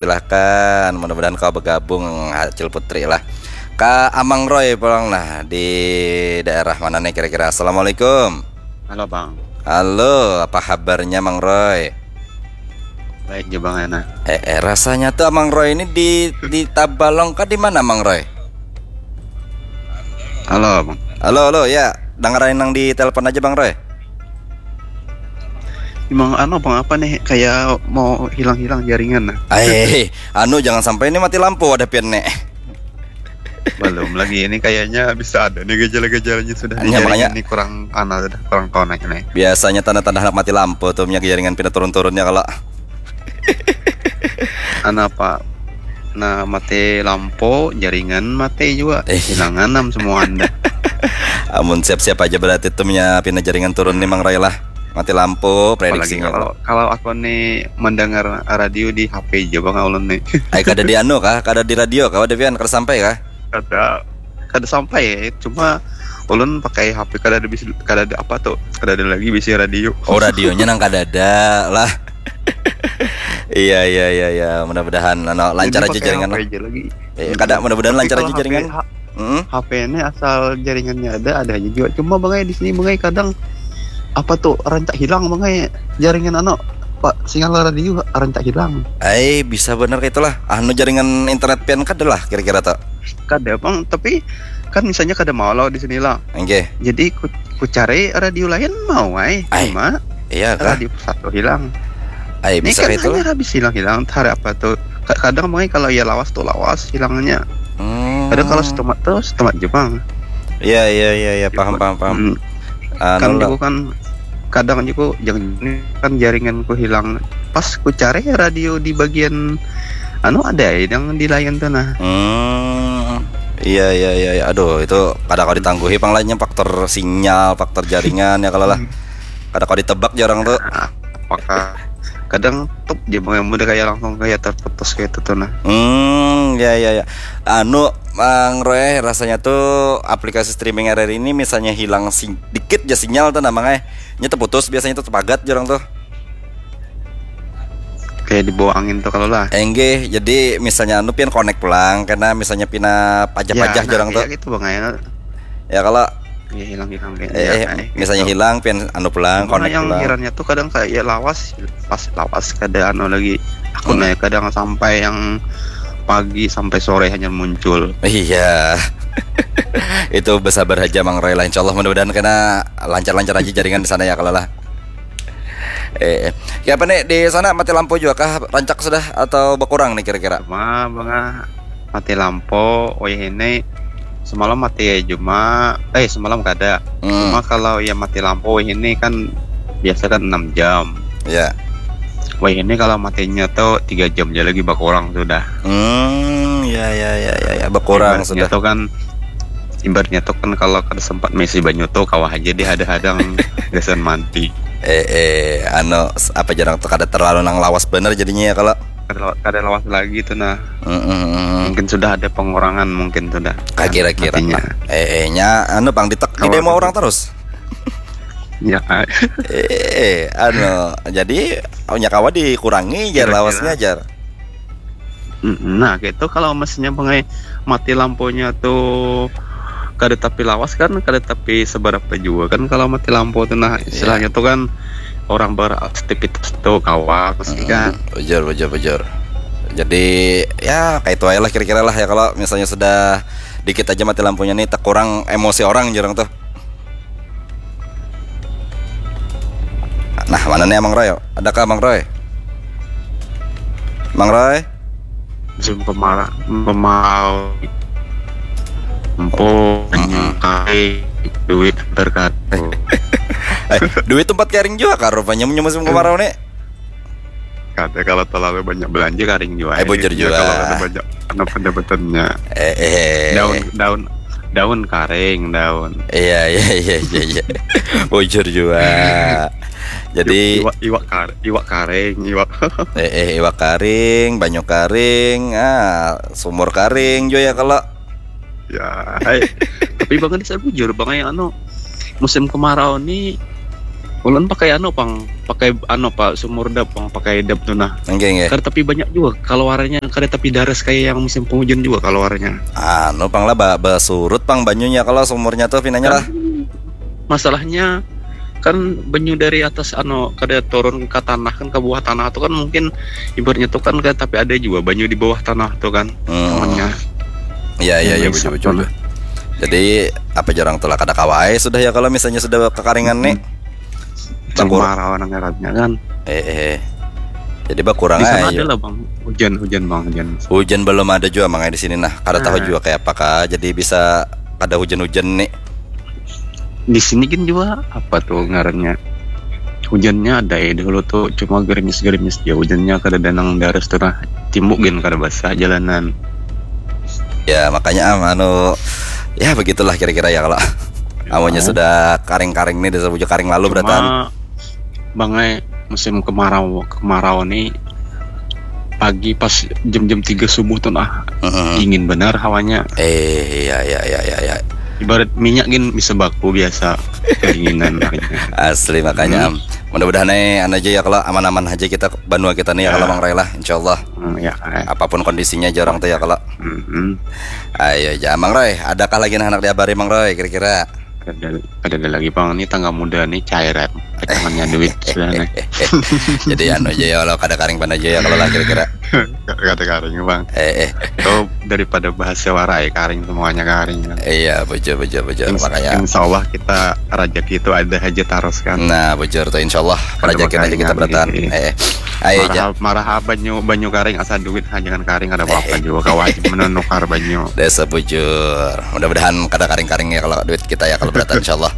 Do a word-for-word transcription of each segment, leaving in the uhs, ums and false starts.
Silahkan, mudah-mudahan kau bergabung, Acil Putri lah. Ka Amang Roy pulang nah, di daerah mana nih kira-kira? Assalamualaikum. Halo, Bang. Halo, apa kabarnya, Mang Roy? Baik juga, Bang, enak. Eh, eh, rasanya tuh Amang Roy ini di di Tabalong kah, di mana, Mang Roy? Halo, Bang. Halo, halo, ya. Dengerin yang di telepon aja, Bang Roy. Emang anu, Bang, apa nih? Kayak mau hilang-hilang jaringan, nah. Eh, anu, jangan sampai ini mati lampu ada pian nih. Belum lagi, ini kayaknya bisa ada nih gejala-gejalanya sudah. Iya, Jaringan makanya ini kurang anu, sudah kurang connect nih. Biasanya tanda-tanda anak mati lampu tuh, punya jaringan pindah turun-turunnya kalau. Anu apa? Nah, mati lampu, jaringan mati juga. Eh. Hilang enam semua anda. Amun siap-siap aja berarti tuh, punya pindah jaringan turun nih, Mang Roy lah. Mati lampu, Apalagi prediksinya. Kalau kalau aku nih mendengar radio di H P aja, Bang, ulun nih. Ai, kada di anu kah? Kada di radio kah? Ada pian, kada sampai kah? Kada kada sampai ya. Cuma ulun pakai H P, kada ada bisi, kada ada apa tuh? Kada ada lagi bisi radio. Oh, radionya nang kada ada lah. Iya, iya, iya, iya. Mudah-mudahan anu, lancar Jadi aja pakai jaringan H P lah. Aja lagi. Eh, kada, mudah-mudahan Tapi lancar kalau aja H P, jaringan. H- Hmm? H P ini asal jaringannya ada, ada aja juga. Cuma, Bang, ai, di sini, Bang, ai, kadang apa tuh, rancak hilang, Bang, ai, jaringan anu, Pak, sinyal radio rancak hilang. Ai, bisa bener kayak itulah. Anu, jaringan internet pian kada lah kira-kira tuh. Kada, Bang, tapi kan misalnya kada mau lah di sini lah. Oke. Jadi ku, ku cari radio lain mau ai. Ai. Cuma Iya kah? Radio satu hilang. Ai, Ini bisa kan kayak itulah. Hanya habis hilang-hilang, hari apa tuh? Ka- Kadang, Bang, kalau ya lawas tuh lawas hilangnya. Hmm. Kadang kalau setumat tuh setumat, Jepang. Iya, iya, iya, iya, paham, paham, paham. Hmm. Anu Kan lah. Juga kan kadang juga yang ini kan jaringanku hilang. Pas ku cari radio di bagian anu, ada ya yang di layan tuh, nah. Hmm. Iya, iya, iya, iya. Aduh, itu kada kau ditangguhi pang lahnya, faktor sinyal, faktor jaringan ya kalau lah. Kada kau ditebak jar urang tuh. Nah, maka kadang tuh dia yang mudah kayak langsung kayak terputus kayak itu tuh, nah. Hmm, ya, ya, ya. Anu, Mang Roy, rasanya tuh aplikasi streaming R R I ini misalnya hilang si dikit aja sinyal tuh, nah, Mang, eh. Nya terputus biasanya tuh, terpagat jar urang tuh. Kayak dibawa angin tuh kalau lah. Enggih, jadi misalnya anu pian connect pulang, karena misalnya pina pajah-pajah Ya, jar urang nah, tuh. Kayak gitu, Bang, ya. Ya kalau Ya, hilang-hilang kayak eh, ya, eh, kayak misalnya gitu. Hilang pian anu pulang, Cuma connect yang pulang. Herannya tuh kadang kayak ya lawas, pas lawas kada anu lagi. Aku Hmm. Nanya kadang sampai yang pagi sampai sore hanya muncul. Iya. Itu bersabar aja, Mang Roy lah. Insya Allah, mudah-mudahan kena lancar-lancar aja jaringan di sana ya kalau lah. Eh, eh. Ya, apa nih, di sana mati lampu juga kah, rancak sudah atau berkurang nih kira-kira? Cuma, Bang, ah, mati lampu, wayah ini semalam mati ya, cuma eh semalam kada. Hmm. Cuma kalau ya mati lampu, wayah ini kan biasa kan enam jam. Ya. Wayah ini kalau matinya tuh tiga jam aja lagi berkurang sudah. Hmm, ya, ya, ya, ya, ya, berkurang Ibaratnya sudah. Tuh kan ibaratnya tuh kan kalau kada sempat misi banyu tuh kawah aja dihadang-hadang gasan mandi. Eh, eh, anu, s- apa jar urang tuh, kada terlalu nang lawas bener jadinya ya kalau. Kada lawas, kada lawas lagi tuh, nah. Mm, mm, mm. Mungkin sudah ada pengurangan, mungkin sudah. Ah, kira-kira Matinya. lah. Eh, eh, nya anu, pang ditek di Kalau demo orang terus. Ya, Eh, anu, jadi nya kawa dikurangi jar Kira-kira. Lawasnya jar. Mm, nah, gitu. Kalau mestinya pengai mati lampunya tuh kada tapi lawas kan, kada tapi seberapa juga kan kalau mati lampu tuh, nah, istilahnya tuh kan orang beraktivitas tuh kawa pasti kan. Mm, bujur, bujur, bujur. Jadi ya kayak itu aja lah kira-kira lah ya, kalau misalnya sudah dikit aja mati lampunya nih, terkurang emosi orang jar urang tuh. Nah, mana nih Mang Roy? Adakah Mang Roy? Mang Roy? Musim kemarau, kemarau, empuk, Mm-mm. Kai, duit terkadang. Eh, duit tempat kering juga kah rupanya musim kemarau nih? Kata kalau terlalu banyak belanja kering juga. Eh, bujur Ya, juga. Kalau ada banyak pendapatannya. Eh, eh. Daun, daun, daun kering, daun. Iya, iya, iya, iya, iya. Bujur juga. Jadi Iwak, iwak kar, iwak kering, iwak. eh, eh, iwak kering, banyu kering, ah, sumur kering juga ya kalau. Ya, hai. Tapi Bang, ini saya bujur, Bang, yang anu, musim kemarau nih Ulun pakai anu pang, pakai anu pak, sumur dap pang, pakai dap tu nah. Nggih, nggih. Kada tapi banyak juga kaluarannya, kada tapi daras kayak yang musim penghujan juga kaluarannya. Anu pang lah, ba, basurut pang banyunya kalau sumurnya tuh pinanya lah. Kan, masalahnya kan banyu dari atas anu kada turun ke tanah kan, ke bawah tanah tuh kan mungkin ibaratnya tuh kan kada tapi ada juga banyu di bawah tanah tuh kan. Hmm. Iya, iya, iya, betul, betul, betul. Jadi apa jarang tuh lah kada kawai sudah ya kalau misalnya sudah kekaringan nih. Kemarau nang ngarannya kan. Eh, eh. Jadi bakurang aja. Di sana ada lah bang, hujan, hujan bang, hujan. Hujan belum ada juga mangai di sini nah. Kada tahu juga kayak apakah. Jadi bisa kada hujan-hujan nih. Di sini kan juga apa tuh ngarannya? Hujannya ada ya dulu tuh, cuma gerimis-gerimis ya, hujannya kada ada nang daras tuh nah. Timbuk gin kada basah jalanan. Ya makanya am anu ya begitulah kira-kira ya kalau awalnya sudah karing-karing nih, desa bujuk karing lalu beratan. Bangai musim kemarau, kemarau nih pagi pas jam-jam tiga subuh tuh nah, uh-huh. Dingin benar hawanya. Eh, iya, iya, iya, iya, iya. Ibarat minyak gin bisa baku biasa kedinginan. Asli makanya hmm. Mudah-mudahan nih anu aja ya kalau aman-aman aja kita banua kita nih ya, ya. Kalau Mang Roy lah, insyaallah. Hmm, ya, ya. Apapun kondisinya aja orang tuh ya kalau. Hmm. Ayo aja Mang Roy, adakah lagi anak diabari Mang Roy kira-kira? Ada, ada, ada lagi bang, ini tangga muda nih cairan, pegangannya duit sebenarnya. Jadi anu aja ya, kalau kada karing pan aja ya kalau lah kira-kira. Kada karing bang. Eh, eh. Kau daripada bahasa warai karing semuanya karing. Kan? Iya bujur bujur bujur. Ins makanya. Insya Allah kita rajaki itu ada aja terus kan. Nah bujur tuh insya Allah rajaki aja kita bertahan. Eh, eh. Ayo aja. Marah banyu banyu karing asal duit jangan karing ada apa-apa eh. Juga kawajib menukar banyu. Desa bujur. Mudah-mudahan kada karing-karing ya kalau duit kita ya kalau beratan insyaallah.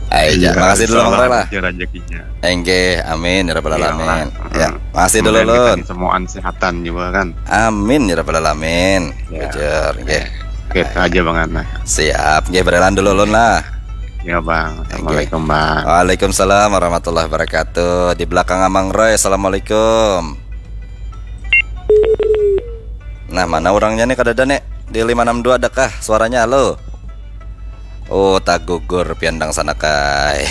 Ayo, iya, makasih dulu Mang Rela. Rezekinya. Enggih, amin ya rabbal iya, alamin. Ya, makasih dulu Lun. Semuaan sehatan juga kan. Amin ya rabbal alamin. Ya. Bujur, enggih. Kita aja Bang Ana. Siap, enggih berelan dulu Lun lah. Ya Bang. Assalamualaikum Bang. Waalaikumsalam warahmatullahi wabarakatuh. Di belakang Amang Roy. Assalamualaikum. Nah, mana orangnya nih kadada nih? Di lima enam dua adakah suaranya? Halo. Oh, tagugur pian dang sana kai.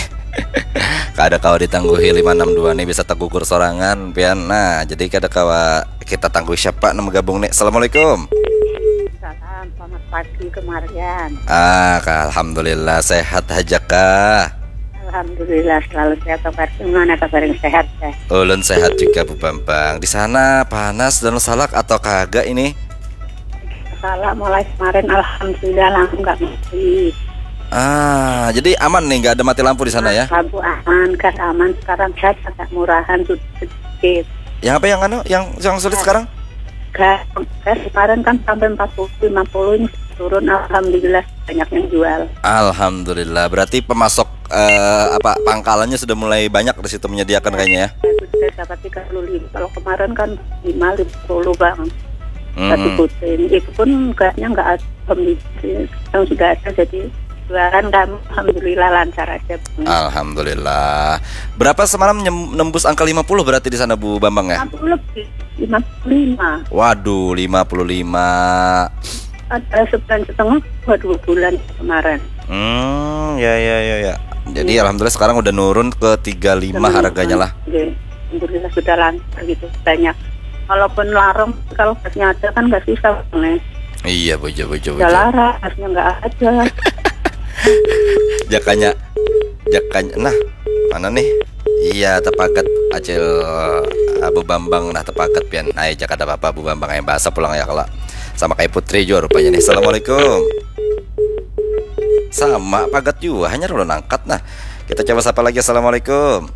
Kada kawa ditangguhi lima enam dua nih bisa tagugur sorangan pian. Nah, jadi kada kawa kita tangguhi siapa nang gabung nih. Assalamualaikum. Salam, selamat pagi kemarian. Ah, alhamdulillah sehat aja kah? Alhamdulillah selalu sehat. Kabar gimana kabar yang sehat ya? Ulun sehat juga Bu Bambang. Di sana panas dan salak atau kagak ini? Salak mulai kemarin alhamdulillah langsung nggak mati. Ah, jadi aman nih, nggak ada mati lampu di sana ya? Lampu aman, gas aman. Sekarang gas agak murahan sedikit. Yang apa yang anu? Yang yang sulit sekarang? Gas, gas kemarin kan sampai empat puluh lima puluh ini turun, alhamdulillah banyak yang jual. Alhamdulillah. Berarti pemasok eh, apa pangkalannya sudah mulai banyak di situ menyediakan kayaknya ya. Sudah dapat tiga puluh lima. Kalau kemarin kan lima lima puluh bang. Hmm. Satu puting. Itu pun gasnya nggak ada, yang sudah ada jadi jualan kami alhamdulillah lancar aja. Bang. Alhamdulillah. Berapa semalam nembus angka lima puluh berarti di sana Bu Bambang ya? Lima puluh lebih. Lima puluh lima. Waduh, lima puluh lima. Ada sebulan setengah, dua bulan kemarin. Hmm, ya ya ya ya. Jadi ya. Alhamdulillah sekarang udah nurun ke tiga lima harganya lah. Oke. Alhamdulillah sudah lancar gitu banyak. Walaupun larang kalau gasnya ada kan nggak susah nih. Iya bojo bojo bojo. Udah larang, gasnya nggak ada. Jakanya, jakanya. Nah, mana nih? Iya tepaket Acil Abu Bambang nah tepaket pian. Nah, jaka ada apa-apa Abu Bambang yang bahasa pulang ya kalau sama kayak Putri juga rupanya nih. Assalamualaikum. Sama pagat juga hanya ulun angkat nah. Kita coba sapa lagi. Assalamualaikum.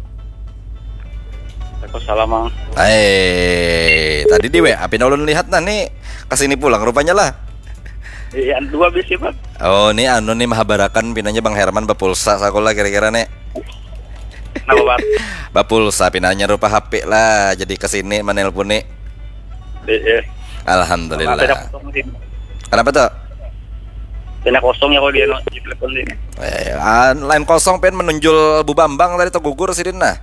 Waalaikumsalam, Mang. Hai, tadi di W A pina ulun lihat nah nih kesini pulang rupanya lah. Iya, dua bisi, Pak. Oh, ini anu nih mahabarakan pinanya Bang Herman bapulsa sakola kira-kira nih. Kenapa, Pak? Bapulsa pinanya rupa H P lah, jadi kesini menelpon nih. Iya. Alhamdulillah. Kenapa tuh? Pina kosong ya kalau dia di telepon ini. Eh, ah, lain kosong pen menunjul Bu Bambang tadi tuh gugur sidin nah.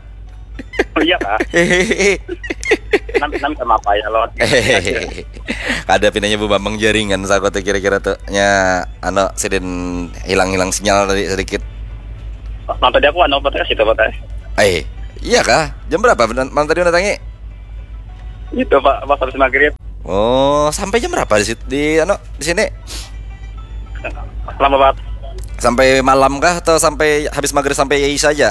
Oh iya kak. Nam nam sama apa ya lo? Kada pinanya Bu Bambang jaringan saku tuh kira-kira tuh nya anu sidin hilang-hilang sinyal tadi sedikit. Malam tadi aku anu, Pak, situ, Pak. Eh, iya kah? Jam berapa malam tadi mendatangi? Itu, Pak, pas habis maghrib. Oh, sampai jam berapa di situ, di anu, di sini? Lama banget. Sampai malam kah atau sampai habis maghrib sampai isya aja?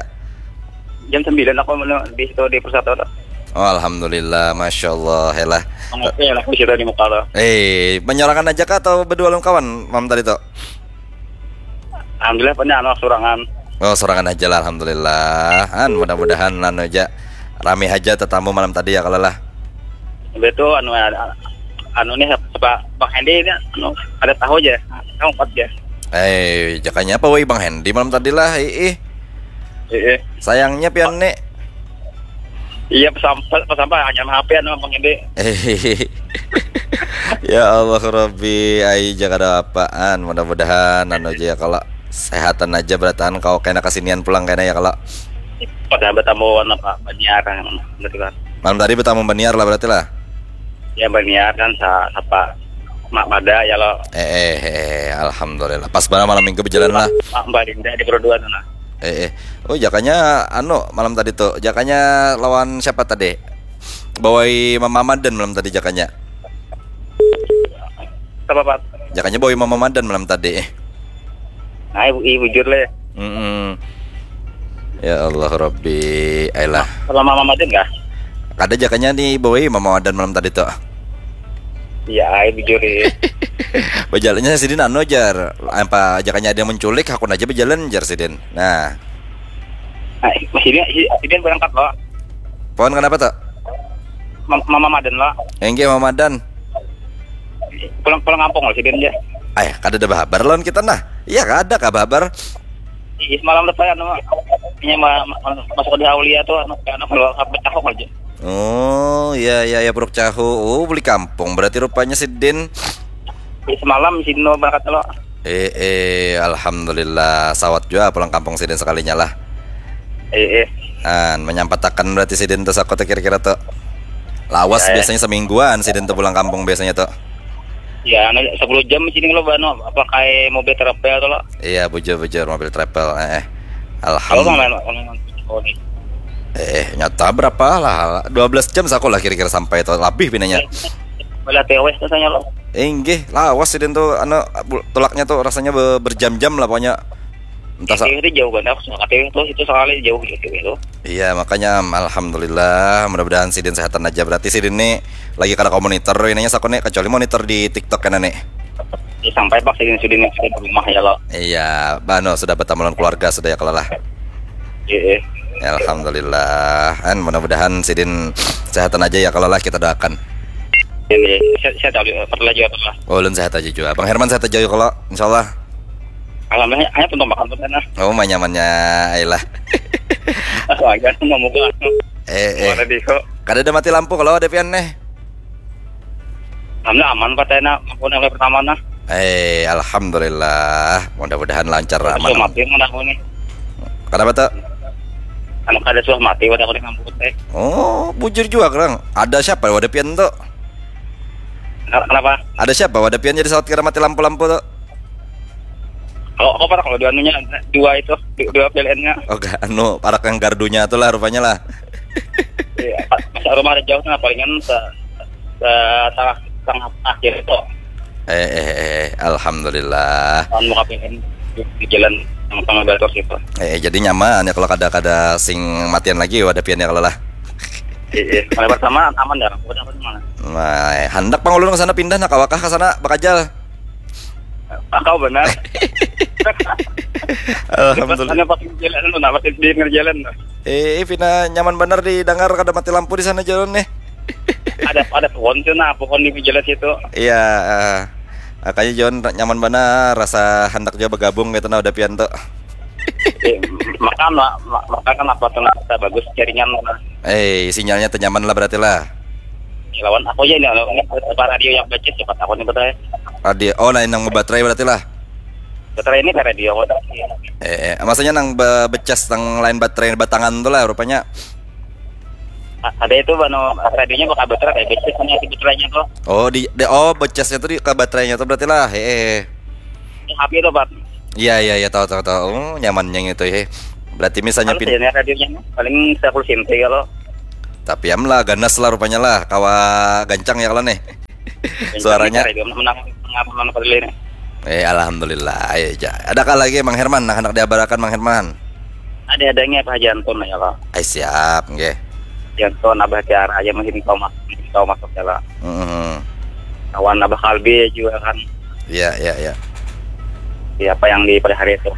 Jam sembilan aku menu di situ di Persatu tuh. Oh, alhamdulillah, masya Allah, helah. Ngopi lah di situ di muka tuh. Eh, menyorangan aja kah atau berdua lawan kawan malam tadi tuh? Alhamdulillah punya anu surangan. Oh, sorangan aja lah, alhamdulillah. An, mudah-mudahan anu aja rame aja tetamu malam tadi ya kalau lah. Betul anu anu nih apa Bang Hendy ini anu ada tahu aja. Tahu empat ya. Eh, jakanya apa woi Bang Hendy malam tadi lah, ih. Iya. Sayangnya pian nih. Iya, pesampah pesampah hanya H P anu Bang Hendy. Ya Allah Rabbi, ai ja kada apaan. Mudah-mudahan anu aja ya kalau sehatan aja berataan kau kena kesinian pulang kena ya kalau. Pada bertamu apa Banjar gitu kan. Malam tadi bertamu Baniar lah berarti lah. Ya Banjar kan sa apa Mak Mada ya lo. Eh, eh, eh, alhamdulillah. Pas barang malam minggu berjalan lah. Mak Mbak Dinda di Perduan sana. Eh, eh. Oh, jakanya anu malam tadi tuh. Jakanya lawan siapa tadi? Bawai Mama Madan malam tadi jakanya. Apa Pak? Jakanya bawai Mama Madan malam tadi. Nah, ibu, ibu bujur le. Mm-mm. Ya Allah Rabbi, ailah. Kalau Mama Madan kah? Kada jakanya nih bawai Mama Madan malam tadi tuh. Iya, ai bujur ya. Berjalannya sidin anu jar. Apa jakanya ada yang menculik, hakun aja berjalan jar sidin. Nah, Nah, sidin sidin berangkat loh. Pohon kenapa tuh? Mam- Mama Madan loh. Enggak Mama Madan. Pulang pulang kampung loh sidin aja. Ay, kada ada bahabar lawan kita nah. Iya kada kah bahabar. Ih, semalam lepas anu ini ma- ma- masuk di Aulia tuh anu anu kalau apa cahok aja. Oh iya iya ya Puruk Cahu. Oh beli kampung berarti rupanya sidin. Ih, semalam sidin lo berangkat lo. Eh eh alhamdulillah sawat juga pulang kampung sidin sekalinya lah. Eh eh. An menyampatakan berarti sidin tuh saku tuh kira-kira tuh. Lawas Ya, ya. Biasanya semingguan sidin tuh pulang kampung biasanya tuh. Ya, anu, sepuluh jam sini lo bano apa kayak mobil travel tuh lo. Iya bujur bujur mobil travel. Eh, eh. Kalau Alhamdulillah. Kalau oh, nih. Eh, eh, nyata berapa lah? Dua belas jam saku lah kira-kira sampai tuh lebih pinanya. Bala T W katanya lo. Inggih, lawas sidin tuh anu bu- tulaknya tuh rasanya be- berjam-jam lah pokoknya. Entah sa- T W itu jauh banget. Aku suka T W tuh itu sekali jauh gitu gitu. Iya, makanya alhamdulillah, mudah-mudahan sidin sehatan aja. Berarti sidin nih lagi kada komonitor ininya saku nih kecuali monitor di TikTok kan nih. Ya, sampai pak sidin sidin yang di rumah ya lo. Iya, bano sudah bertemu lawan keluarga sudah ya kalau lah. Iya. Ya, alhamdulillah. An mudah-mudahan sidin sehatan aja ya kalau lah kita doakan. Ini saya saya tahu pernah juga pernah. Oh, ulun sehat aja juga. Bang Herman sehat aja ya kalau insyaallah. Alhamdulillah hanya tuntung makan tuh sana. Oh, manyamannya ailah. Aku aja mau muka. Eh, eh. Mana di kok? Kada ada mati lampu kalau ada pian nih. Alhamdulillah aman pak tena aku yang pertama nah. Eh, alhamdulillah. Mudah-mudahan lancar Sudah aman. mati mana aku nih. Kenapa tuh? Anu kada sudah mati pada aku di kampung teh. Oh, bujur juga kerang. Ada siapa wadah pian tuh? Kenapa? Ada siapa wadah pian jadi sawat kira mati lampu-lampu tuh? Kalau aku pernah kalau dua anunya dua itu du- dua P L N-nya. Oke, anu parak yang gardunya tuh lah rupanya lah. Iya, pas rumah ada jauh nah palingan se se tengah tengah akhir itu. Eh, eh, eh, alhamdulillah. Tahun muka P L N di jalan yang tengah Batur situ. Eh, jadi nyaman ya kalau kada kada sing matian lagi wadah pian ya kalau lah. Iya, mulai pertama aman dah. Udah aman mana? Nah, hendak pang ulun ke sana pindah nak awakah ke sana bakajal. Ah, kau benar. Alhamdulillah. Hanya pas di jalan lu, nah, pas di pinggir jalan. Eh, pina nyaman bener didengar kada mati lampu di sana jalan nih. Ada ada pohon tuh nah, pohon di jalan situ. Iya, eh, makanya John nyaman bener rasa hendak juga bergabung gitu nah udah pian tuh. Eh, makan lah, ma- makan kan apa tuh nah, bagus jaringan lah. Eh, sinyalnya tuh nyaman lah berarti lah. Lawan aku aja nih, apa radio yang baca cepat aku nih betul. Radio, oh lain yang baterai berarti lah. Baterai ini kayak radio aku. Eh, eh, maksudnya nang be- becas nang lain baterai batangan tuh lah rupanya. A- Ada itu bano radionya bakal baterai kayak baca hanya si baterainya tuh. Oh di, di oh becasnya tuh di ke baterainya tuh berarti lah. Eh, eh. Ini H P tuh pak. Iya iya iya tahu tahu tahu. Oh, nyamannya gitu ya. Berarti misalnya Kalau pin saya ni radio-nya paling sepuluh senti kalau. Tapi am lah ganas lah rupanya lah, kawa gancang ya kalau nih. Suaranya. Saya juga menang menang menang kali ini. Eh, alhamdulillah. Ayo ja. Adakah lagi Mang Herman, nah, hendak diabarakan Mang Herman? Ada-adanya Pak Haji Anton ya, Pak. Ay, siap, nggih. Haji Anton, Abah Tiara aja mungkin kau masuk, mungkin kau masuk ya, Pak. Heeh. Kawan Abah Kalbi juga kan. Iya, iya, iya. Siapa yang di pada hari itu?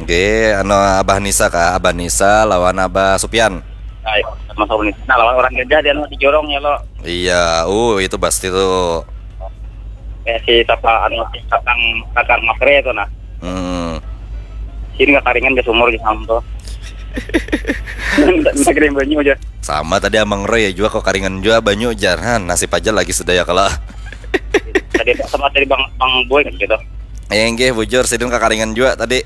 Nggih, anu Abah Nisa kah? Abah Nisa lawan Abah Supian. Nah, sama sama ini. Nah, lawan orang gajah dia anu di jorong ya lo. Iya, uh itu pasti tuh. Kayak si siapa anu si kakang kakang Masre itu nah. Hmm. Sini kakaringan di sumur di sana tuh. Ndak ndak kirim banyu aja. Sama tadi Amang Roy ya juga kok karingan juga banyu jar. Han, nasib aja lagi sudah ya kalau. Tadi sama tadi Bang Bang Boy kan gitu. Eh, nggih bujur sidin kakaringan juga tadi.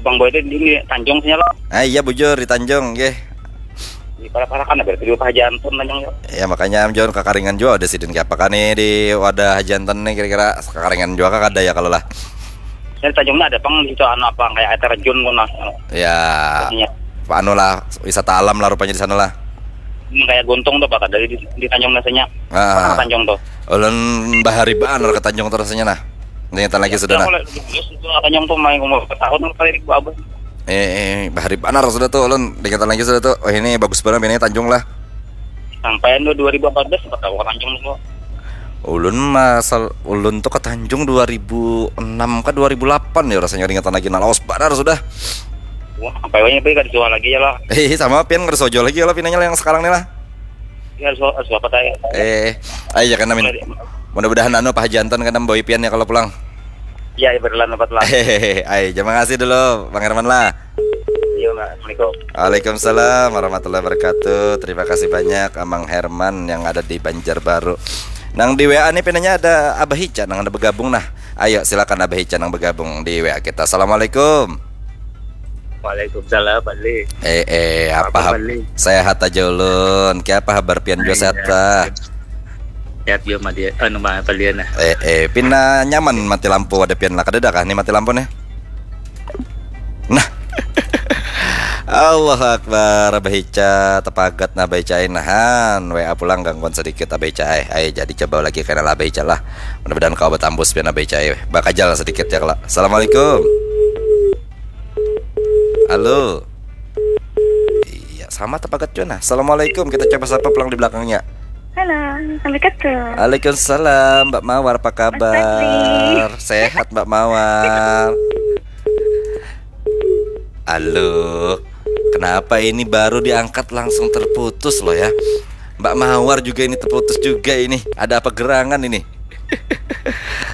Bang Boy itu di, di Tanjung sini lo. Ah iya bujur di Tanjung nggih. Di para-para kan berarti di Pak Haji Anton Tanjung ya. Ya makanya am John kakaringan juga ada sidin kayak apa kan nih di wadah Haji Anton nih kira-kira kakaringan juga kah kada ya kalau lah. Saya Tanjungnya ada pang di situ anu apa kayak air terjun pun nah. Ya Iya. anu lah wisata alam lah rupanya di sana lah. Ini kayak guntung tuh Pak dari di, di Tanjung biasanya. Ah. Tanjung tuh. Ulun bahari banar ke Tanjung tuh rasanya nah. Niatan lagi sudah nah. Kalau itu Tanjung tuh main umur bertahun kali di gua abah. Eh, eh, bahari banar sudah tuh ulun niatan lagi sudah tuh. Oh ini bagus banget ini Tanjung lah. Sampai anu dua ribu empat belas sempat tahu ke Tanjung tuh. Ulun masal ulun tuh ke Tanjung dua ribu enam ke dua ribu delapan ya rasanya ingatan lagi nah lawas banar sudah. Wah, sampai wanya pergi kada suah lagi ya lah. Eh sama pian kada sojo lagi ya lah pinanya lah yang sekarang nih lah. Ya suah suah apa tadi? Eh, ayo ya kan amin. Mudah-mudahan anu Pak Haji Anton kan boy pian ya kalau pulang. Ya berlan empat lah. Hehehe, ayo, terima kasih dulu Bang Herman lah. Iya, Mbak. Assalamualaikum. Waalaikumsalam warahmatullahi wabarakatuh. Terima kasih banyak Amang Herman yang ada di Banjarbaru. Nang di W A nih pinanya ada Abah Ica nang ada bergabung nah. Ayo silakan Abah Ica nang bergabung di W A kita. Assalamualaikum. Waalaikumsalam, Bali. Eh eh apa Apa, hab- Bali? Sehat aja ulun. Kiapa habar pian juga Iya. Sehat kah? Sehat juga Madia, anu Mbak Balian nah. Eh eh pina nyaman mati lampu ada pian lah kada ada kah nih mati lampu nih? Nah. Allahu Akbar Abah Ica tepagat nah Abah Ica ai nahan W A pulang gangguan sedikit Abah Ica ai. Ayo jadi coba lagi kena lah Abah Ica lah. Mudah-mudahan kau bertambus pian Abah Ica ai. Bakajal sedikit ya kalau. Assalamualaikum. Halo. Iya sama tepagat juga nah. Assalamualaikum kita coba sapa pulang di belakangnya. Halo, sampai ketemu. Waalaikumsalam Mbak Mawar apa kabar? Fadli. Sehat Mbak Mawar. Halo. Kenapa ini baru diangkat langsung terputus loh ya? Mbak Mawar juga ini terputus juga ini. Ada apa gerangan ini?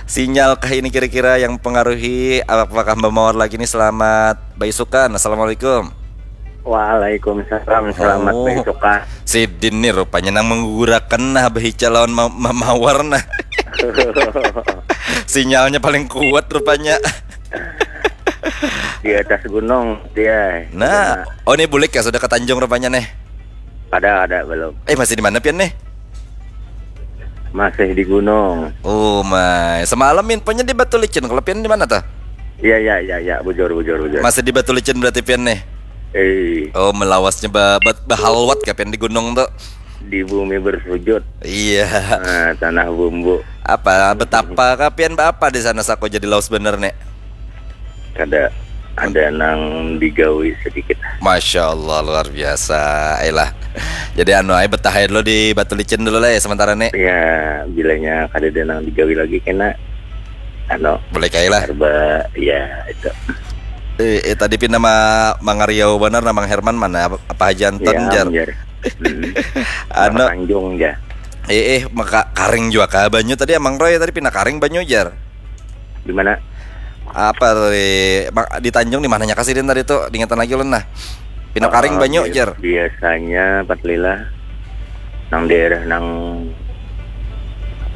Sinyal kah ini kira-kira yang mempengaruhi apakah Mbak Mawar lagi ini selamat baisukan. Assalamualaikum. Waalaikumsalam, selamat Oh. baisukan. Sidin nih rupanya nang menggugurakan nah Abah Ica lawan ma- ma- Mawar nah. Sinyalnya paling kuat rupanya. Di atas gunung dia. Nah, oh ini bulik ya sudah ke Tanjung rupanya nih. Ada, ada belum? Eh masih di mana pian nih? Masih di gunung. Oh my, semalam infonya di Batu Licin. Kalau pian di mana tuh? Iya, iya, iya, iya, bujur, bujur, bujur. Masih di Batu Licin berarti pian nih. Eh, Oh melawasnya ba, ba, bahalwat kah pian di gunung tuh. Di bumi bersujud. Iya. Nah, tanah bumbu. Apa betapa kah pian ba apa di sana sako jadi lawas bener nih. Kada ada nang digawi sedikit. Masya Allah luar biasa. Ayolah. Jadi anu ayo betah aja dulu di Batu Licin dulu lah ya sementara nih. Ya, bilanya kada ada nang digawi lagi kena anu Boleh kayak lah. Arba ya itu. Eh, eh, tadi pina ma mangariau bener namang Herman mana apa, apa Haji Anton Ya, jar. Jar. Hmm. Anu Tanjung ya. eh eh maka karing juga kah banyu tadi Amang Roy tadi pina karing banyu jar. Di mana? Apa tadi Ma- di Tanjung di mananya kasih tadi tuh diingatan lagi ulun nah. Pina karing Ah, banyu bi- jar. Biasanya Pat Lila nang daerah nang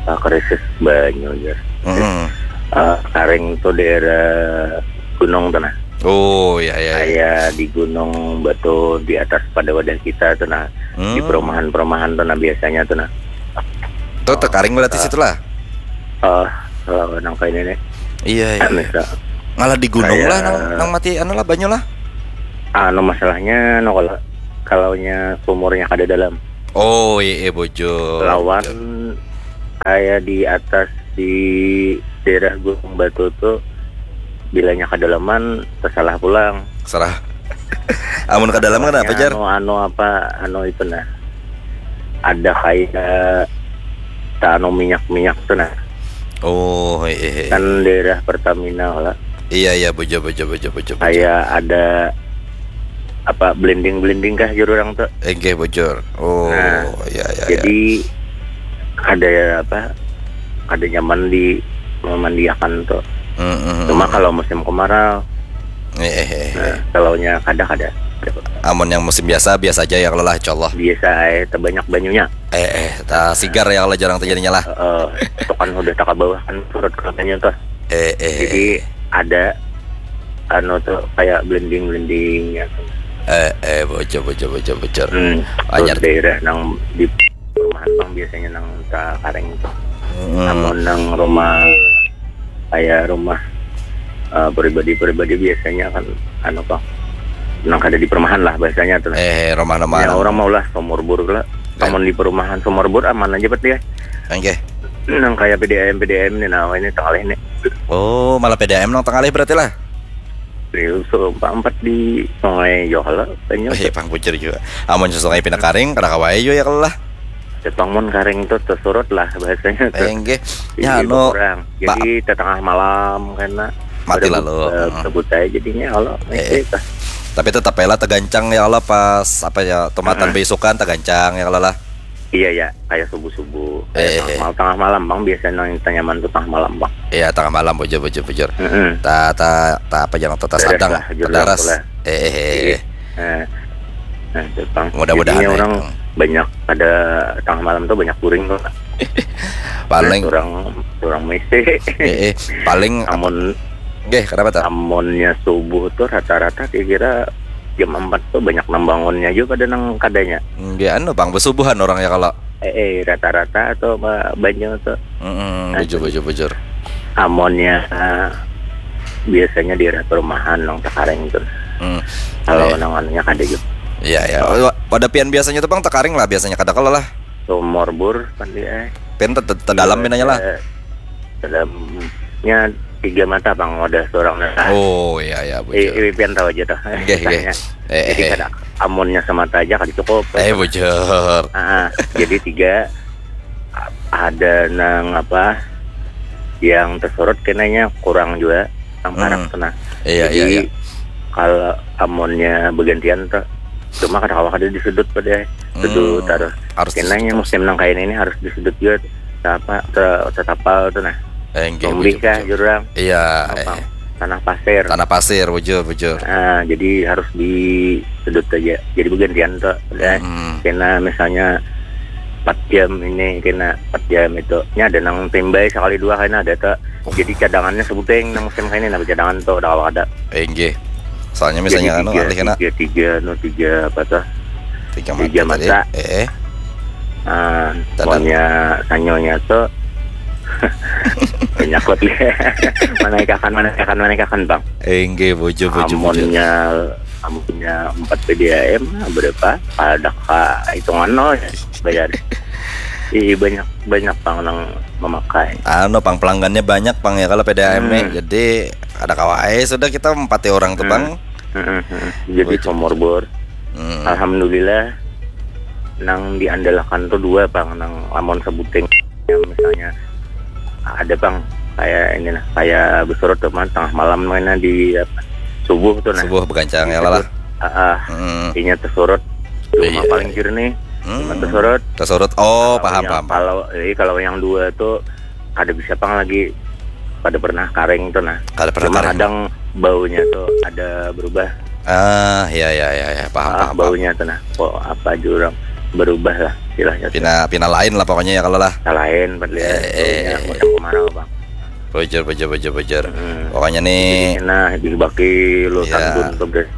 ah, krisis banyu ya. Hmm. Ah, karing tuh daerah gunung tuh nah. Oh ya ya. Ya. Kayak di gunung batu di atas pada wadah kita tuh nah. Di Hmm. perumahan-perumahan tuh nah biasanya tuh nah. Tuh tekaring berarti situ lah. Ah, kalau nang kayak ini nih. Iya iya. Misal, Ngalah di gunung Kayak- lah nang, nang mati anu lah banyu lah. Anu, masalahnya, no, kalau, kalaunya sumurnya kada dalam. Oh, iya, iya, bujur. Lawan kayak di atas, di daerah Gunung Batu tuh, bilanya kedalaman, tersalah pulang. Salah. Amun kedalaman kenapa, Jar? Anu, anu apa, anu itu, nah. Ada kayak tak anu minyak-minyak tuh, nah. Oh, iya, iya. Kan daerah Pertamina lah. Iya, iya, bujur, bujur, bujur, bujur, bujur. Kayak ada apa, blending-blending kah, jar urang tuh. Enggih, bujur. Oh, Nah, iya, iya, iya. Jadi ada apa, ada nyaman di memandiakan tuh. Mm, mm, Cuma mm. Kalau musim kemarau, Eh, eh, eh, nah, eh. Kalaunya kada, kada. Amun yang musim biasa, biasa aja ya kalau lah, insyaallah. Biasa aja, terbanyak banyunya. Eh, eh, tak sigar ya kalau, jarang terjadinya lah. Eh, itu kan udah tak ke bawah kan, surut ke banyu tuh. Eh, eh. Jadi ada anu tuh, kayak blending-blending ya. Eh, eh, bujur, bujur, bujur, bujur. Hmm, Anyar. Terus daerah nang di perumahan bang biasanya nang tak karing tuh. Mm. Namun nang rumah kayak rumah eh, pribadi-pribadi biasanya kan anu, bang, nang kada di perumahan lah bahasanya tuh. Eh, rumah nama Ya, nang- orang mau lah sumur bor lah. Kan? Namun di perumahan sumur bor aman aja bet dia. Enggih. Nang kayak P D A M, P D A M nih, nah ini tengah nih. Oh, malah P D A M nang tengah berarti lah. Di empat di Sungai Johla kayaknya. Eh, pang bujur juga. Amun Sungai pina karing, kada kawa aja ya kalau lah. Jepang mun karing tuh tersurut lah bahasanya tuh. Eh, enggih. Jadi Ya, anu, kurang. Jadi tengah malam karena Mati pada lalu. bu- eh, Hmm. Kabut aja jadinya kalau Eh, itu. Tapi tetap lah tegancang ya kalau pas apa ya, tumatan beisukan tegancang ya kalau lah. Iya ya, kayak subuh-subuh. Eh, Tengah, eh. mal- tengah malam bang biasanya yang nyaman tuh tengah malam bang. Iya, tengah malam, bujur, bujur, bujur. Mm-mm. Ta ta ta apa yang ta Terdaras sadang, lah, jujur terdaras. lah. Eh, eh, eh, eh. Nah, nah, itu, bang. Mudah-mudahan Jadinya ya. Orang Hmm. Banyak ada tengah malam tuh banyak kuring tuh. Paling Orang orang misi. eh, eh, paling Namun Nggih, kenapa tuh? Amunnya subuh tuh rata-rata kira-kira jam empat tuh banyak nang bangunnya juga pada nang kadanya. Nggih, anu, bang, besubuhan orang ya kalau. Eh, eh rata-rata atau ba- banyak tuh. Mm-mm, Nah, bujur, bujur, bujur. Amunnya eh, biasanya di daerah perumahan nang takaring tuh. Mm. Kalau Iya. Nang anunya kada juga. Iya, iya. Oh, pada pian biasanya tuh, bang, takaring lah biasanya, kada kalau lah. Sumur bor kan dia. Pian te- te- te dalam pinanya lah. Eh, Dalamnya tiga mata, bang, ada seorang. Oh, iya, iya, Eh, bujur. eh, pian tahu aja tuh. Nggih, nggih. Kisahnya. Eh, Jadi eh. Kada, amunnya semata aja kada cukup. Eh, bujur. Ah, ah. Jadi tiga a- ada nang apa yang tersorot kenanya kurang juga nang parak Hmm. tuh, nah. Iya, Jadi iya, iya. Kalau amunnya bergantian tuh cuma kada kawa kada di sudut pada sudut Hmm, harus harus di kenanya sudut. Musim nang kayak ini harus di sudut juga tuh. Apa te- tetapal tuh, nah. Eh, nggih, Tombih bujur, kah bujur. jurang Iya, apa eh. Tanah pasir. Tanah pasir, bujur, bujur. Ah, jadi harus di sudut aja. Jadi bergantian tuh. Udah. Hmm. Kena misalnya empat jam ini, kena empat jam itu. Ini ada nang timbai sekali dua kena ada tuh. Jadi cadangannya sebuting nang musim kayak ini, nang cadangan tuh udah kalau ada. Eh, nggih. Soalnya misalnya Jadi anu tiga, alih kena tiga, tiga, no, tiga apa tuh? tiga tiga mata tadi. mata. Eh, eh. Ah, Tadang. Maunya sanyonya tuh banyak kot lihat. Mana ikakan, mana ikakan, mana ikakan, bang. Eh, nggih, bujur, bujur, bujur. Amunnya amunnya empat P D A M berapa? Pada ka hitungan nol ya bayar. Ih, banyak banyak, bang, nang memakai. Anu, pang, pelanggannya banyak, pang, ya kalau P D A M nih. Hmm. Jadi ada kawa ai sudah kita empati orang tuh, Hmm. bang. Heeh, heeh. Jadi Bujur. Sumur Bor. Hmm. Alhamdulillah nang diandalkan tuh dua, bang, nang lamun sebuting yang misalnya ada, bang, kayak ini nah, kayak bersurut tuh, man, tengah malam mana di apa, subuh tuh nah. Subuh begancang ya lah. Ah, ah. Hmm. Inya tersurut. Cuma Iya. Paling jernih. Hmm. Cuma tersurut. Tersurut. Oh, Kalau paham, yang, paham, paham. Kalau eh, kalau yang dua tuh kada bisa, pang, lagi kada pernah karing tuh nah. Kada pernah Cuma karing. Kadang baunya tuh ada berubah. Ah, ya, ya, ya, ya, paham, Ah, paham, paham. Baunya tuh nah, kok apa jurang berubah lah istilahnya tuh. Pina, pina lain lah pokoknya ya kalau lah. Nah, lain, Pak, lihat Eh, eh, baunya eh. Musim kemarau, bang. Bujur, bujur, bujur, bujur. Hmm. Pokoknya nih. Nah, dibaki lo Iya. Tandun tuh, guys.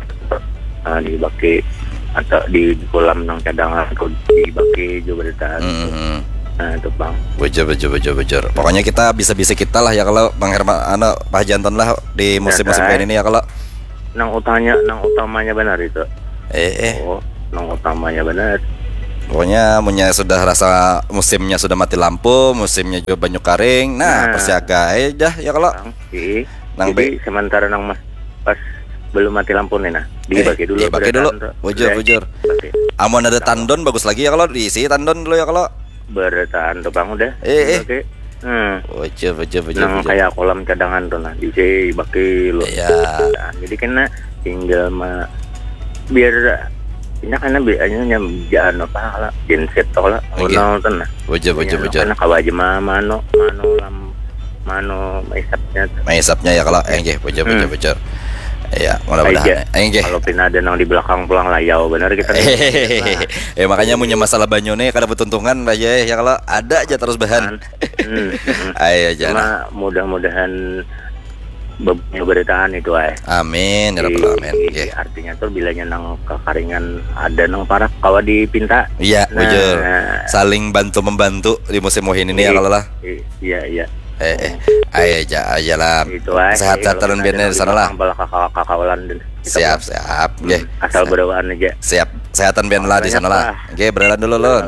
Ah, dibaki atau di kolam nang cadangan tuh dibaki juga berita. Hmm, hmm. Nah, itu, bang. Bujur, bujur, bujur, bujur. Pokoknya kita bisa-bisa kita lah ya kalau Bang Herman, anu, Pak Haji Anton lah di musim-musim Nah, kayak ini ya kalau. nang utanya, nang utamanya benar itu. Eh, eh. Oh, nang utamanya benar. Pokoknya munnya sudah rasa musimnya sudah mati lampu, musimnya juga banyu karing. Nah, Nah. persiaga aja ya kalau Ih, Nang jadi sementara nang mas pas belum mati lampu nih nah, dibagi dulu. Eh, dibagi dulu. Bujur, Bujur, bujur. Amun ada tandon bagus lagi ya kalau diisi tandon dulu ya kalau. Bertahan tuh bang udah. Eh, eh. Oke. Hmm. Bujur, bujur, bujur. Nang Bujur. Kayak kolam cadangan tuh nah, dibagi lu. Iya. Nah, jadi kena tinggal ma biar ini karena biasanya nyam jangan apa lah genset tuh lah Oke. Ronald tuh nah. Bujur, bujur, Nya bujur. Karena kawa aja ma mano mano lam mano isapnya tuh. Maisapnya ya kalau eh nggih, bujur, bujur, Hmm. bujur. Iya, mudah-mudahan. Aja. Eh nggih. Kalau pina ada nang di belakang pulang layau benar kita. Ya makanya munnya masalah banyu nih kada betuntungan aja ya kalau ada aja terus bahan. Hmm, hmm. Ayo aja. Cuma Nah. Mudah-mudahan bebanyu beritaan itu ay. Amin ya rabbal alamin. Di- Nggih. Artinya tuh bilanya nang kekaringan ada nang parak kawa dipinta. Iya, Nah. Bujur. Saling bantu membantu di musim muhin ini ya Iya. Kalau lah. I- Iya iya. Eh, eh. Ayo aja, aja lah. Itu ay. Sehat-sehat Kalau biar ada di sana lah. Bala kakak kakawalan dan Siap, siap. Nggih. Asal berdoaan aja. Siap. Sehatan biar lah di Banyak sana lah. lah. Nggih, berjalan dulu lun.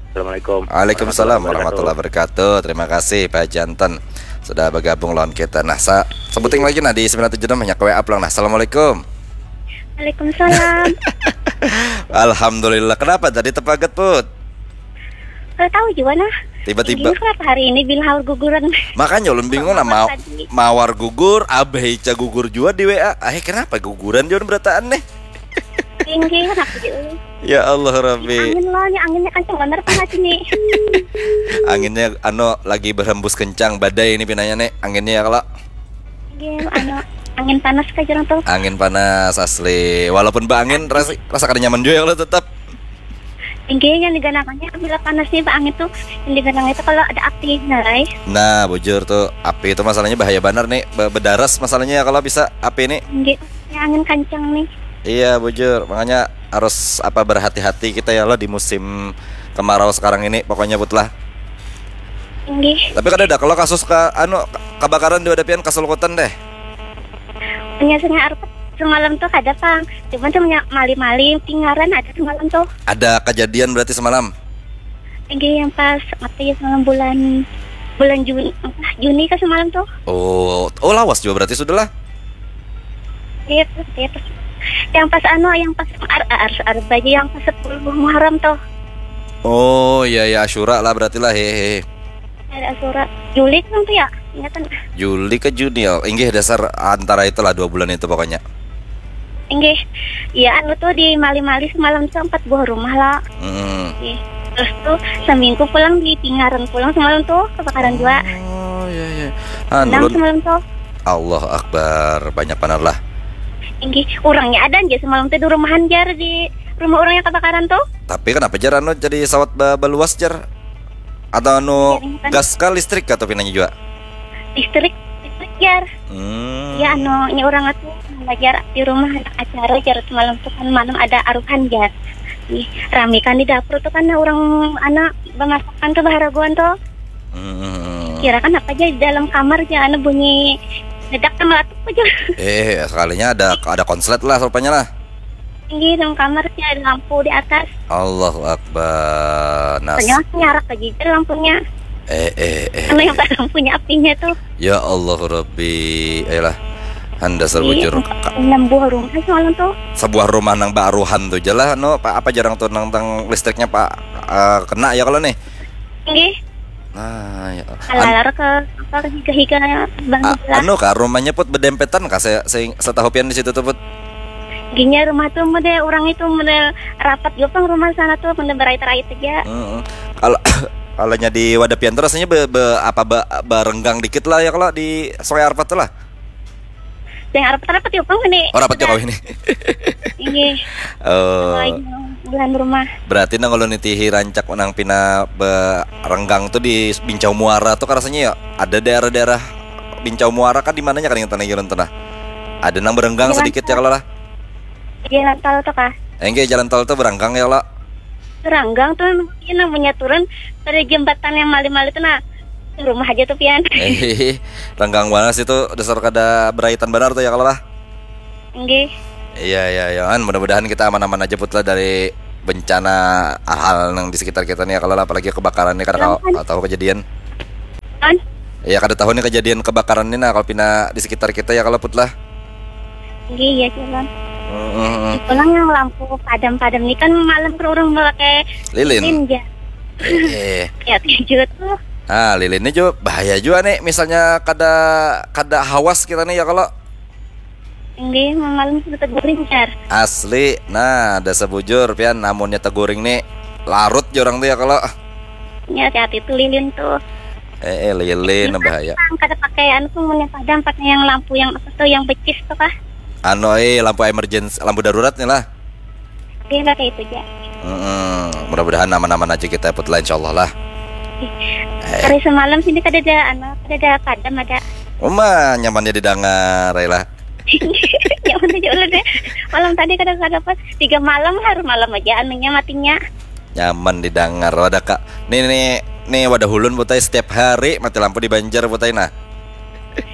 Assalamualaikum. Waalaikumsalam warahmatullahi wabarakatuh. Terima kasih Pak Jantan sudah bergabung lawan kita. Nah, sa sebuting lagi nah di sembilan tujuh enam banyak W A pulang. Nah, assalamualaikum. Waalaikumsalam. Alhamdulillah. Kenapa tadi tepaget put? Kalau tahu juga nah. Tiba-tiba. Ini kenapa hari ini bilang haur guguran? Makanya ulun bingung nah mau Tadi. Mawar gugur, Abah Ica gugur juga di W A. Eh kenapa guguran juga berataan nih? Tinggi kenapa juga? Ya Allah Rabbi. Angin lah, ya anginnya kencang bener panas ini. Anginnya ano lagi berhembus kencang badai ini pinanya nih anginnya ya kalau Tinggi, anu, angin panas kah jarang tuh. Angin panas asli. Walaupun baangin rasa, rasa kada nyaman juga ya kalau tetap. Tinggi yang diganakannya bila panas nih, angin tuh yang diganang itu kalau ada api, nah, guys. Nah, bujur tuh api itu masalahnya bahaya banar nih. Be- Bedaras masalahnya ya kalau bisa api ini. Tinggi, ya angin kencang nih. Iya, bujur. Makanya harus apa berhati-hati kita ya Allah di musim kemarau sekarang ini pokoknya put lah. Tinggi. Tapi kada ada kalau kasus ka anu kebakaran di Wadapian kasulkutan deh. Punya sungai Arpet semalam tuh kada pang. Cuman tuh punya mali-mali pingaran ada semalam tuh. Ada kejadian berarti semalam. Tinggi yang pas apa ya semalam bulan bulan Juni apa Juni ke semalam tuh. Oh, oh lawas juga berarti sudah lah. Iya, iya. Yang pas anu, yang pas ar ar ar baju yang pas sepuluh Muharram tuh. Oh, iya ya Asyura lah berarti lah hehe. Ada Asyura. Juli kan tuh ya, ingatan. Juli ke Juni ya. Inggih dasar antara itulah dua bulan itu pokoknya. Inggih. Iya anu tuh di Mali-Mali semalam tuh empat buah rumah lah. Hmm. Ih, terus tuh seminggu pulang di Pingaran pulang semalam tuh kebakaran juga. Oh, iya iya. Anu Enam lun. Semalam tuh. Allah Akbar, banyak banar lah. Inggih, orangnya ada aja semalam tuh di rumahan jar di rumah orang yang kebakaran tuh. Tapi kenapa jar anu jadi sawat ba- baluas jar? Atau anu Iya, ini kan. Gas kah listrik kah tuh pinanya juga? Listrik, listrik jar. Hmm. Ya anu, ini orang tuh belajar di rumah ada acara jar semalam tuh kan malam ada aruhan jar. Ih, rame kan di dapur tuh kan orang anak bemasakan tuh baharaguan tuh. Hmm. Kira kan apa aja di dalam kamar aja anu bunyi ledak sama atuk aja. Eh, sekalinya ada ada konslet lah rupanya lah. Tinggi dalam kamar sih ada lampu di atas. Allahu Akbar. Nas. Ternyata nyarak aja jar lampunya. Eh eh eh. Karena yang lampunya apinya tuh. Ya Allah Rabbi. Ayolah. Anda Ih, serbujur. Enam buah rumah semalam tuh. Sebuah rumah nang baruhan tuh jelas no Pak apa jarang tuh nang tang listriknya Pak eh, kena ya kalau nih. Tinggi. Nah, ya. An- Alar ke apa ke higa-higa bang a- lah. Anu kah rumahnya put bedempetan kah saya, saya setahu pian di situ tuh put. Ginya rumah tuh mode orang itu mode rapat juga pang rumah sana tuh mode berait-rait aja. Heeh. Kalau kalau nya di Wadapian tuh rasanya be, be, apa be, berenggang dikit lah ya kalau di Sungai Arpat tuh lah. Yang rapat-rapat juga pang ini. Oh rapat juga ini. Iya. Oh. Lagi bulan rumah. Berarti nang kalau nitihi rancak nang pina berenggang tuh di Bincau Muara tuh rasanya ya ada daerah-daerah Bincau Muara kan di mananya kan yang tanah Yurun tuh nah. Ada nang berenggang Jalan sedikit ya kalau lah. Jalan tol tuh kah? Enggak jalan tol tuh berenggang ya kalau. Ranggang tuh ini namanya turun pada jembatan yang mali-mali tuh nah rumah aja tuh pian. Eh, renggang banget sih tuh dasar kada beraitan benar tuh ya kalau lah. Nggih. Iya, iya, iya. Kan mudah-mudahan kita aman-aman aja, Put, lah, dari bencana hal-hal yang di sekitar kita nih, ya, kalau apalagi kebakaran nih, kada ka-, kada tahu kejadian. Kan? Iya, kada tahu nih kejadian kebakaran nih, nah, kalau pina di sekitar kita, ya, kalau, Put, lah. Nggih, iya, Cak, Bang. Heeh. Pulang yang lampu padam-padam nih kan malam ke orang pakai lilin, ja. Eh, eh. Ya, juga tuh. Ah, lilin ini juga bahaya juga nih, misalnya kada, kada hawas kita nih, ya, kalau. Nggih, malam sudah teguring, Jar. Asli, nah, ada sebujur, pian, namunnya teguring nih, larut ja orang tuh, ya, kalau. Ya, hati-hati tuh lilin tuh. Eh, eh, lilin bahaya. Kada pakai anu tuh, munnya padam, pakai yang lampu yang apa tuh, yang becis tuh kah? Anu, eh, lampu emergency, lampu darurat nih lah. Iya, pakai itu aja. Mm-mm. Mudah-mudahan aman-aman aja kita, Put, lah, insyaallah lah. Eh. Hari semalam sini kada ada, anu, kada ada padam, ada. Uma, nyamannya didengar, ya lah. Nyaman aja ulun ya. Malam tadi kada, kada pas. Tiga malam, hari malam aja anunya matinya. Nyaman didengar, wadah, Kak. Nih, nih, nih, wadah ulun, Put ai, setiap hari mati lampu di Banjar, Put ai, nah.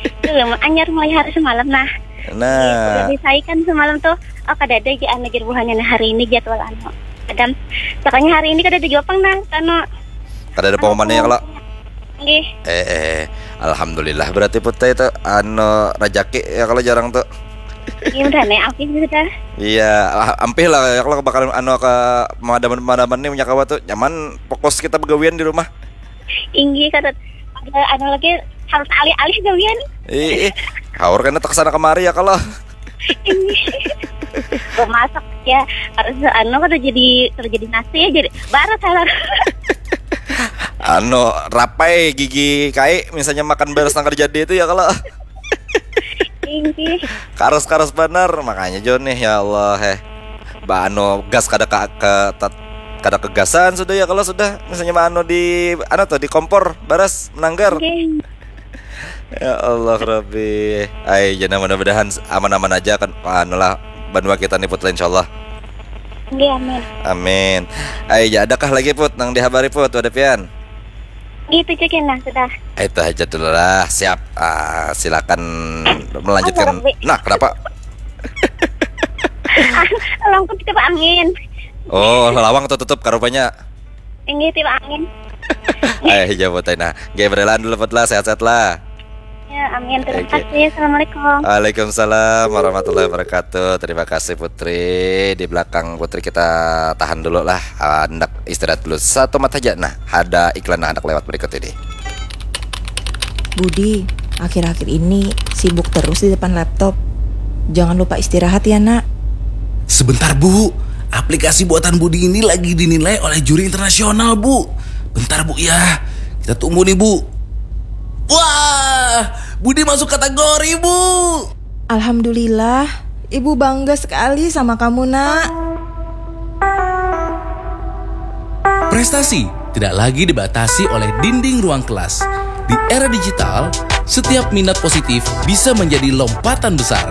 Itu loh, anyar mulai hari semalam, nah. Nah. Jadi, saya kan semalam tuh, oh, kada ada aja anu, jar buhannya, nah, hari ini jadwal anu. Padam. Pokoknya hari ini kada ada jua pang, nah, anu. Kada ada pengumumannya, ya, kalau? Nggih. Eh, eh, alhamdulillah, berarti, Put ai, itu anu, rajaki, ya, kalau, jar orang tuh. Iya, udah, nih, ampih sudah. Iya, ah, ampih lah, ya, kalau kebakaran, anu, ke pemadaman-pemadaman nih, punya kawa tuh nyaman, fokus kita begawian di rumah. Inggih, kada ada anu lagi, harus alih-alih gawian. Ih, ih. Haur kena tak sana kemari, ya, kalau. Inggih. Bemasak ya, harus anu, kada jadi, kada jadi nasi ya, jadi barat halar. Anu, rapai gigi kai, misalnya makan beras nang kada jadi itu, ya, kalau. Inggih. Karas-karas banar, makanya jo nih, ya Allah, eh. Ba anu, gas kada ka, ka, tat-, kada kegasan sudah, ya, kalau sudah misalnya ba anu di, anu tuh, di kompor baras menanggar. Inggih. Ya Allah Rabbi. Ai, jana, mudah-mudahan aman-aman aja kan, anu lah, banua kita nih, Put, lah, insyaallah. Inggih, amin. Amin. Ai, ja, adakah lagi, Put, nang dihabari, Put, wadah pian? Gitu, Cik, nah, sudah. Itu aja dulu lah, siap. Ah, silakan melanjutkan. Apa, Rabbi? Nah, kenapa? Lawang tuh tiba angin. Oh, lawang tuh tutup karupanya. Inggih, tiba angin. Eh, jawab tadi, nah. Oke, berelaan dulu, Put, lah, sehat-sehat lah. Ya, amin. Terima kasih. Assalamualaikum. Waalaikumsalam warahmatullahi wabarakatuh. Terima kasih, Putri. Di belakang Putri kita tahan dulu lah. Ah, hendak istirahat dulu satu mat aja. Nah, ada iklan nang hendak lewat berikut ini. Budi, akhir-akhir ini sibuk terus di depan laptop. Jangan lupa istirahat ya, Nak. Sebentar, Bu. Aplikasi buatan Budi ini lagi dinilai oleh juri internasional, Bu. Bentar, Bu, ya. Kita tunggu nih, Bu. Wah, Budi masuk kategori, Bu. Alhamdulillah, Ibu bangga sekali sama kamu, Nak. Prestasi tidak lagi dibatasi oleh dinding ruang kelas. Di era digital, setiap minat positif bisa menjadi lompatan besar.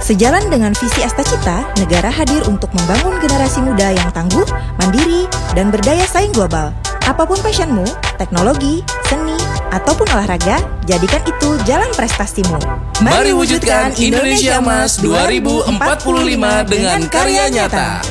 Sejalan dengan visi Astacita, negara hadir untuk membangun generasi muda yang tangguh, mandiri, dan berdaya saing global. Apapun passionmu, teknologi, seni, ataupun olahraga, jadikan itu jalan prestasimu. Mari wujudkan Indonesia Emas dua ribu empat puluh lima dengan karya nyata.